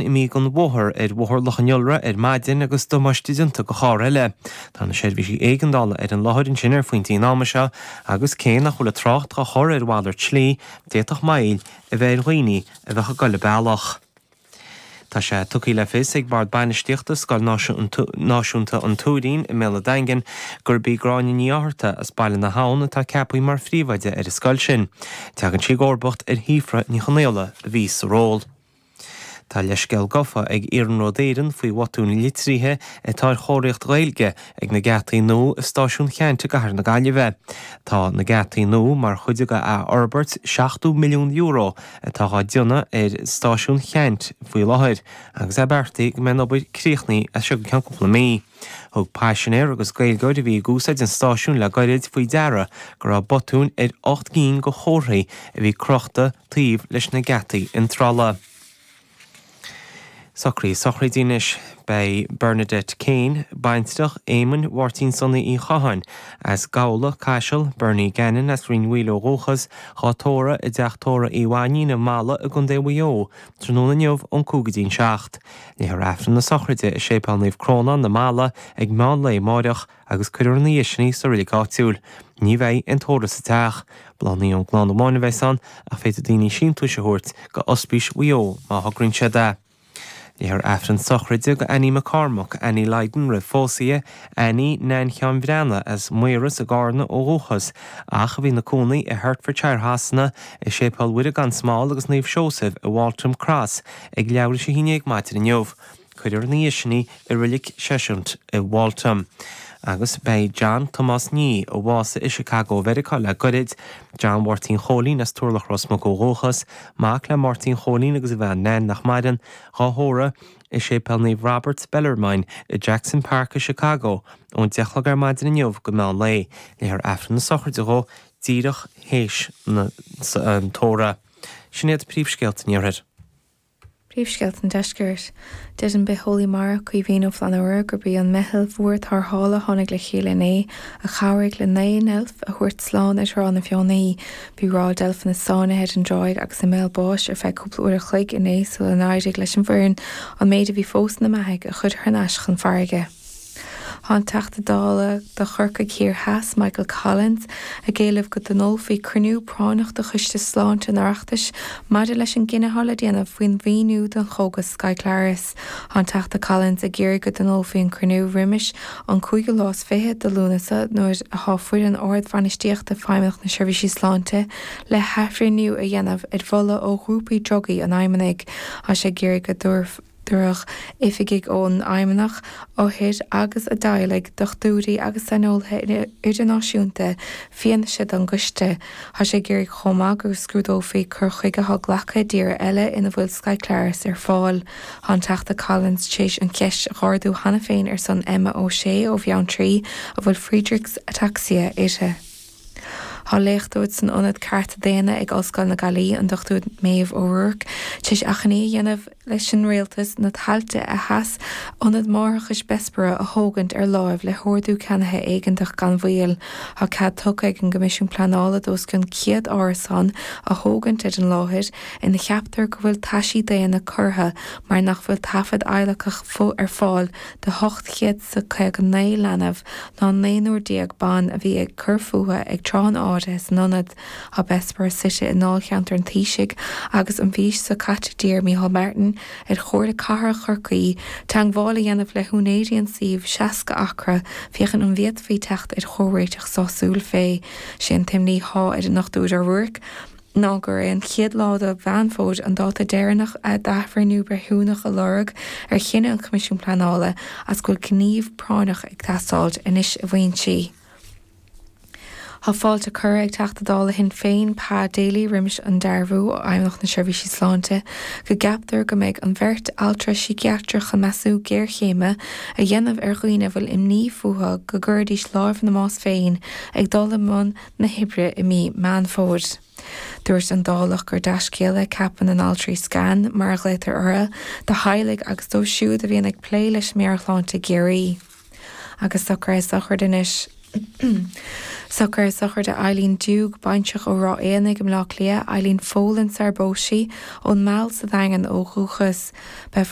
Imithe den bhóthar ar Bhóthar Loch an Iolra ar maidin agus damáiste déanta do charr eile. Tá na seirbhísí éigeandála ar an láthair ansin ar phointí an ama seo agus cé nach bhfuil an trácht á chur ar mhalairt slí, d'fhéadfadh moill a bheith ar dhaoine a bheadh ag dul an bealach. Tá sé tugtha le fios ag Bord Bainistíochta Scoil Náisiúnta an Tuairín i mBéal an Daingin gurb í Gráinne Ní Fhátharta as Baile na hAbhann atá ceaptha mar phríomhoide ar an scoil sin. Tagann sí i gcomharbacht ar Shíofra Ní Chonaola a bhí sa ról. Tá leithscéal gafa ag Iarnród Éireann faoi bhotúin litrithe atá ar chomharthaíocht Ghaeilge ag na geataí nua i Stáisiún Cheannt i gcathair na Gaillimhe. Tá na geataí nua mar chuid de athfhorbairt €70 milliún atá á déanamh ar Stáisiún Cheannt faoi láthair agus é beartaithe go mbeidh an obair críochnaithe as seo go ceann cúpla mí. Thug paisinéir agus Gaeilgeoir a bhí ag úsáid an stáisiúin le gairid faoi deara go raibh botúin ar 8 gcinn de chomharthaí a bhí crochta taobh leis na geataí iontrála. Socruithe sochraide anois. Beidh Bernadette Kane, baintreach Éamoinn Mháirtín Sonaí Uí Chatháin, as Gabhla, Caiseal, Bernie Gannon as Rinn Mhaoile ó dhúchas, dhá tórramh i dTeach Tórraimh Uí Mhainnín i Mala i gContae Mhaigh Eo, tráthnóna inniu ón 5 go dtí an 7. Léifear Aifreann na sochraide i Séipéal Naomh Crónán i Mala ag meán lae amáireach agus cuirfear ina dhiaidh sin í sa reilig áitiúil. Ní bheidh aon tórramh sa teach. Bláthanna ón gclann amháin a bheas ann ach féadfaidh daoine síntiúis a thabhairt go Ospís Mhaigh Eo má thograíonn siad é. Léifear Aifreann sochraide do Annie McCormack, Annie Lydon roimh phósadh di, Annie Nan Sheáin Bhreathnaigh as Maoras i gCarna ó dhúchas ach a bhí ina cónaí i Hertfordshire Shasana, i Séipéal Mhuire gan Smál agus Naomh Seosaimh i Waltham Cross ag leathuair tar éis a haon déag maidin inniu. Cuirfear ina dhiaidh sin í i Reilig Cheshunt i Waltham. Agus beidh John Tomás Nee, a bhásaigh i Chicago Mheiriceá le goirid, John Mháirtín Chóilín as Turlach Ros Muc ó dhúchas, mac le Máirtín Chóilín agus a bhean Nan nach maireann, dhá thórramh i Séipéal Naomh Robert Bellarmine i Jackson Park i Chicago ón 10 a chlog ar maidin inniu go meán lae. Léifear Aifreann na sochraide dhó díreach théis an tórraimh. Sin iad príomhscéalta an Iarthair. Príomhscéalta an Deiscirt. Deir an bitheolaí mara Caoimhín Ó Flannúra gurb í an meitheal mhór tarrthála a tháinig le chéile inné a chabhraigh le 9 ndeilf a thabhairt slán ar Thrá na Feothanaí. Bhí ráil deilfeanna sáinnithe ar an dtráigh agus i mbéal báis ar feadh cúpla uair a chloig inné sula n-éirigh leis an bhfoireann an méid a bhí fós ina mbeathaigh a chur thar n-ais chun farraige. Tá an Teachta Dála do Chorcaigh Thiar Theas, Michael Collins, ag éileamh go dtionólfaí cruinniú práinneach de Choiste Sláinte an Oireachtais maidir leis an gcinneadh atá le déanamh faoin mhaoiniú don chógas Skyclarys. Tá an Teachta Collins ag iarraidh go dtionólfaí an cruinniú roimis an cúigiú lá is fiche de Lúnasa nuair atá foireann ard-bhainistíochta Feidhmeannacht na Seirbhísí Sláinte le hathbhreithniú a dhéanamh ar mholadh ó ghrúpaí drugaí an Fheidhmeannaigh. Tá sé ag iarraidh go dtabharfaí Tabharfadh oifigigh ón Fheidhmeannacht, othair agus a dteaghlaigh, dochtúirí agus saineolaithe idirnáisiúnta fianaise don gcoiste. Tá sé ag iarraidh chomh maith go scrúdófaí cur chuige atá glactha i dtíortha eile ina bhfuil Skyclarys ar fáil. Tá an Teachta Collins tar éis an cheist a dh'ardú cheana féin ar son Emma O'Shea ó Bheanntraí a bhfuil Friedreich's Ataxia uirthi. Tá léachtóir san Ionad Cearta Daonna ag Ollscoil na Gaillimhe, an Dr Maeve O'Rourke, tar éis achainí a dhéanamh leis an Rialtas na tailte a sheas Ionad Máithreachais Bessborough a thógaint ar láimh le hordú ceannaithe éigeantach gan mhoill. Tá cead tugtha ag an gCoimisiún Pleanála d'os cionn 100 árasán a thógaint ar an láthair ina cheaptar go bhfuil taisí daonna curtha mar nach bhfuil taifead adhlacach ar fáil de 859 leanbh ná naonúr ban a bhí ag cur fúthu ag tráth an áirithe san ionad. Tá Bessborough suite i ndáilcheantar an Taoisigh agus an mhí seo caite d'iarr Micheál Martin ar Chomhairle Cathrach Chorcaí teagmháil a dhéanamh le húinéirí an tsuímh 60 acra féachaint an bhféadfaí teacht ar chomhréiteach sásúil fé. Sé an t-imní thá ar an Dr O'Rourke ná gur é an chéad lá de Mheán Fómhair an dáta deireanach d'athbhreithniú breithiúnach a lorg ar chinneadh an Choimisiúin Pleanála as go bhfuil gníomh práinneach ag teastáilt anois a mhaíonn sí. Tá fáilte curtha ag Teachta Dála Shinn Féin Pa Daly roimis an dearbhú ó Fheidhmeannacht na Seirbhísí Sláinte go gceaptar go mbeidh an bheirt altra síciatrach chun measúnú géarchéime a dhéanamh ar dhaoine a bhfuil imní fúthu go gcuirfidís láimh ina mbás féin ag dul i mbun na hoibre i mí Meán Fómhair. Dúirt an Dálach gur dea-scéala é ceapadh na n-altraí 'SCAN', mar a ghlaotar orthu, do theaghlaigh agus dóibh siúd a bhíonn ag plé leis an meabhairshláinte i gCiarraí. Agus socruithe sochraide anois. Socruithe sochraide Eileen Doogue, baintreach ó Ráth Éanaigh i mBleá Cliath, Eileen Folan sar a bpós sí, ón Meal sa Daingean ó dhúchas. Beifear.